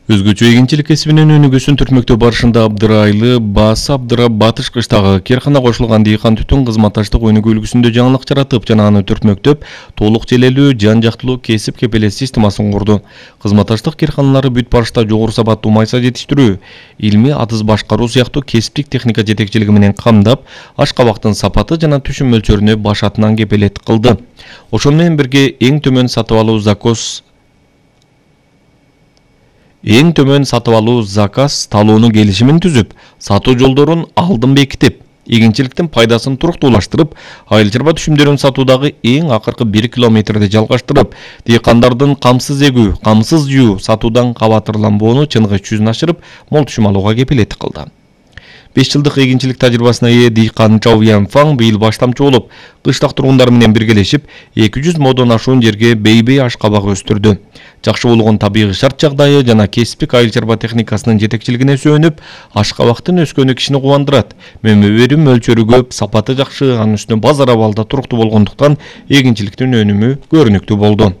Өзгөчө эгинчилик кесибинин өнүгүүсүн түртмөктөө барышында Абдырайлы Баас Абдыра Батыш кыштагы Керхана кошулган дыйкан түтүн кызматташтык өнүгүү үлгүсүндө жаңылык жаратып жана аны түртмөктөп, толук желелүү, жан-жактылуу кесип кепелес системасын курду. Кызматташтык керканалары бүт барышта жогору сапаттуу майса жетиштирүү, илмий атыз башкаруу сыяктуу кесиптик техника жетекчилиги менен камдап, ашкабактын сапаты жана түшүм мөлчөрүнө баш атынан кепелет кылды. Ошону менен бирге эң төмөн сатып алуу заказ талоону келишимин түзүп, сатуу жолдорун алдын бекитип, эгинчиликтин пайдасын туруктуулаштырып, айыл чарба түшүмдөрүн сатуудагы эң акыркы 1 километрди жалгаштырып, дыйкандардын камсыз эгүү, камсыз жуу, сатуудан кабатырланбоону чыныгы жүзүн ашырып, мол түшүм алууга кепилет кылды. 5 жылдык эгинчилик тажрыйбасына ээ дыйкан Чау Янфаң быйыл баштамчы болуп, кыштак тургундар менен биргелешип, 200 модон ашуун жерге бейбей ашкабак өстүрдү. Жакшы болгон табигый шарт жагдайы жана кесиптик айыл чарба техникасынын жетекчилигине сүйөнүп, ашкабактын өскөнү кишини кубандырат. Мөмө берүү мөлчөрү көп, сапаты жакшы, анын үстүнө базар абалда туруктуу болгондуктан эгинчиликтин өнүмү көрүнүктүү болду.